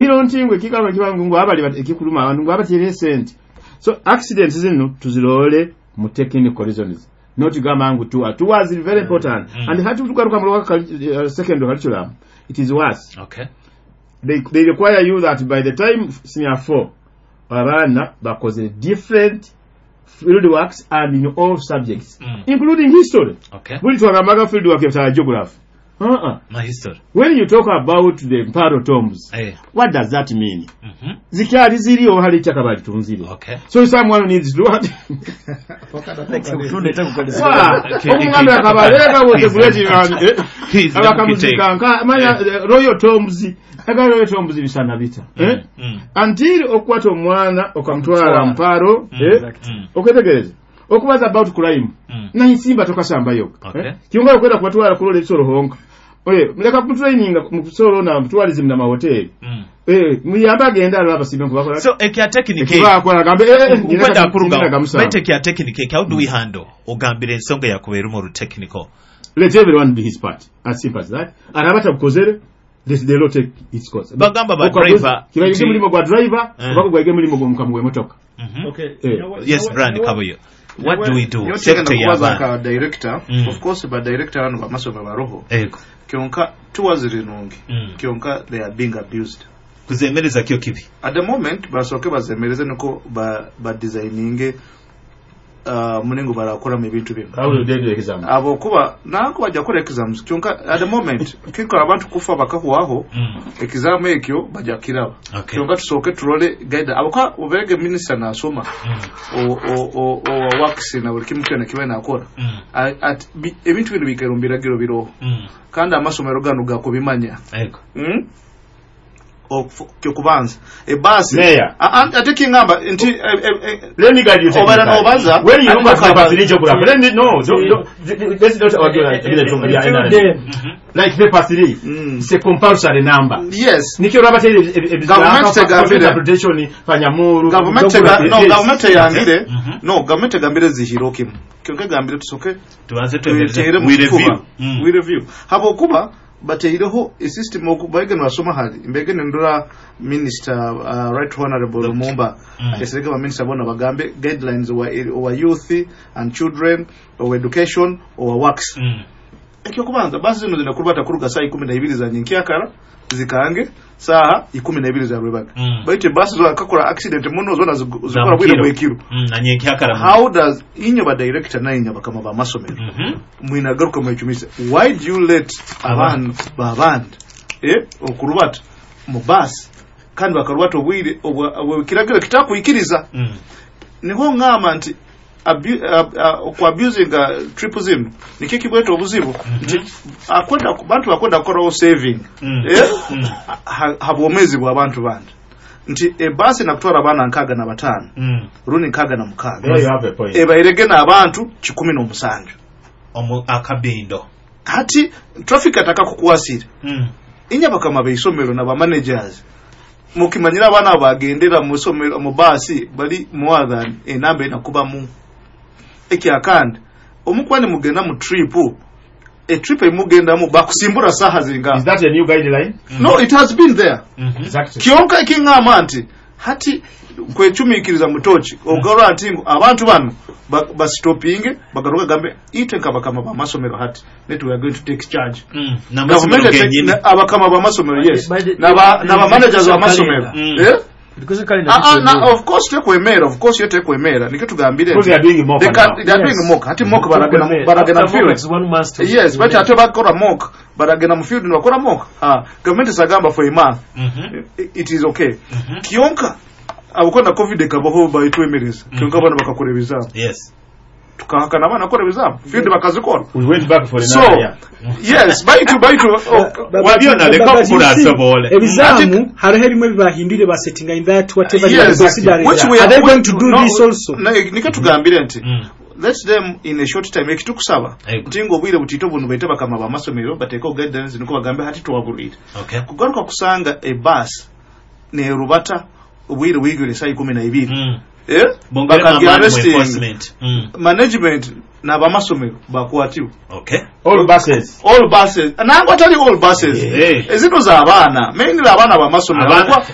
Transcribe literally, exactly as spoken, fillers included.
Hilo ntingwe ekikaba kibangu ngu abali ekikuluma abantu ngu abatyere sente. So accidents zino tuzirole mu technical reasons, not gamba ngu tour. Tours is very important. Mm. And hati tugaruka mu lower uh, secondary curriculum, it is worse. Okay. They, they require you that by the time senior four, abaana bakoze different field works and in all subjects, Mm. including history. Okay. Buli twagambaga field work ya geography. Uh-uh. My history. When you talk about the Mparo tombs, Eh. what does that mean? Mhm. Zikyali ziri oba hali ettaka balitunzire? Okay. So someone needs to what? Wa, omuganda akabaleka was a great man. He's the Abakamuzika nka manya Eh. eh, royal tombs, aga royal tombs bisana bita. Eh? Mm. Until okwata omwana okamutwala Mparo, Mm. eh? Mm. Okwetegereza. Okubaza about crime. Mm. Nainsimba tokasambayo. Okay. Eh? Kyonga okwenda kubatwala kulola ebisolo honka. Oye, muleka kutraininga mu kusolo na tourism na mahoteli. Mm. Eh, muyamba agenda alaba abasimbe nkubakola. So ekya technique Ekibakola agambe eh eh ukwenda kuruga gamusanvu. bete kya technique, how do we handle ogambira ensonga yakubeera mu technical? Let everyone be his part. As simple as that. Araba tabukozere, this the law take its course. Bagamba ba Okaguzi- driver kibaige nti- mulimo gwa driver, Eh. oba gwayige mulimo gw'omukamu gw'emmotoka. Mhm. Okay. Eh. You know what- Yes, you know Brian what- Kabuyo, what do we do? Yotegenda Sector kubaza y'abaana. nka director. Mm. Of course ba director bano bamasomero baroho. Ego. Kyonka tuwazire nungi. Mm. Kyonka they are being abused. Kuzemereza kyo kibi. At the moment basooke bazemereze niko ba, ba designinge uh, muningo barakoramu ebintu bino. How will they do exam? Abo kuba nanko bajja kukora exams, kyonka at the moment kikola abantu kufa bakahwaho. Mm. Exam ekyo bajja kiraba. Okay. Kyonka tusooke turole guide aboka oberege minister nasoma Mm. o o o o works na buli kimu kyona kiba nakora. Mm. A- at bi- ebintu bino bikaira mu biragiro biroho Mm. kandi amasomero gano gakubimanya. Ego. Mm? Okufu- kyokubanza ebaasi. Mayor. A- a- ate kingamba nti eh, eh, eh, Let me guide you Obala technically. n'obaza, When you look at ate paper three n'okabaza. geography, let me no, don't, don't, let's not argue like Until then, like paper three. Mm. It's a compulsory number. Yes. Nikyo raba teri Government tegambire. interpretation panyamuru. Gavumenti ega- no, gavumenti eyangire. Mhm. No, gavumenti egambire zihiro kimu, kyonka egambire tusoke Tubanze twemereze. twetere mu We kifuba. review. Mm. We review habwokuba bateireho esystem oku baige nibasoma hali mbege nindora minister uh, right honorable Lumumba Mm. esereka ba minister bona bagambe guidelines wa, wa youth and children or education or works. Mm. Ekyokubanza basi zino zinakurubata kuruga saa ikumi na ibiri za nyenkyakara zikange saha ikumi na ibiri za rwebaga. Mm. Baitu basi zo akakora accident muno zona zigu- Za zikora bwire mukiro. bwekiro. Mm. Na nyenkyakara. How does inyo ba director na inyo bakama ba masomero Mhm. mwinagaruka mwechumise, why do you let abantu babandi eh okurubata mu basi kandi bakarubata obwire obwa- obwa- kiragiro kitakwikiriza? Mm. Niho ngamba nti abu- ab- a- ku abusing uh, trip zino nikyo kibweta obuzibu nti akwenda bantu bakwenda kukoraho saving Mm. eh Mm. ha- habwomezi bw'abantu bandi nti ebasi nakutwara abaana nkaaga na bataano Mm. rundi nkaaga na mukaaga There you have a point. ebairege n'abantu kikumi n'omusanju. Omu akabindo. Hati traffic atakakukwasire. Mm. Inya bakama beisomero na bamanagers mukimanyira abaana bagendera mu somero mu baasi bali more than enamba enakubamu ekyakandi omukwani mugenda mu trip, etrip emugendamu bakusimbura saha zinga. Is that a new guideline? No, it has been there. Mhm. Exactly. Kyonka ekiŋŋamba nti hati kwecumiikiriza mutoki ogarora nti ngu abantu bano ba- basitopinge bagaruka gambe itwe nkabakama bamasomero hati net we are going to take charge. Mm. N'amasomero Gavumenti gennyini. na- abakama bamasomero, yes. By the- Naba the- naba managers the- bamasomero. Mm. Eh? Because calendar Ah, ah, na, tekwemera. of course tekwemera, of course yo tekwemera, nikyo tugambire Because nti they are doing mock they can- now. they are Yes. doing mock. Hati mock baragenda Tekwemera. baragenda mu After mock, field. it's one month to- Yes, but ate bakora mock baragenda mu field nibakora mock. Ah, gavumenti sagamba for a month. Mhm. It is okay. Mhm. Kyonka abukona COVID ekabaho bayitwemereza, kyonka abana bakakora ebizamu. Yes. Tukahakana abana bakora ebizamu field bakazikora. We went back for So another year. yes, baitu baitu oh, But- Wabyona but- leka but you kukula see, asobole. Ebizaamu hariho ebimwe bibahindwire basettinga in that whatever they are yes, considering. which we Are they which- going to do no, this also? no, nikyo tugambire nti Mm. let them in a short time ekitukusaba Ego. nti ng'obwire butito buno baite bakama bamasomero bateekeho guidelines niko bagambe hati tuwabulwire Okay. kugaruka kusanga ebasi nerubata obwire bwigwire saa ikumi na ibiri. Mm. Eh? Bongere Bakagi amaani mu arresting. enforcement. Mm. Management n'abamasomero bakwatibwa. Okay. All buses. All buses, nangwa tali all buses. Eh. Ezino z'abaana, mainly abaana bamasomero. Abaana-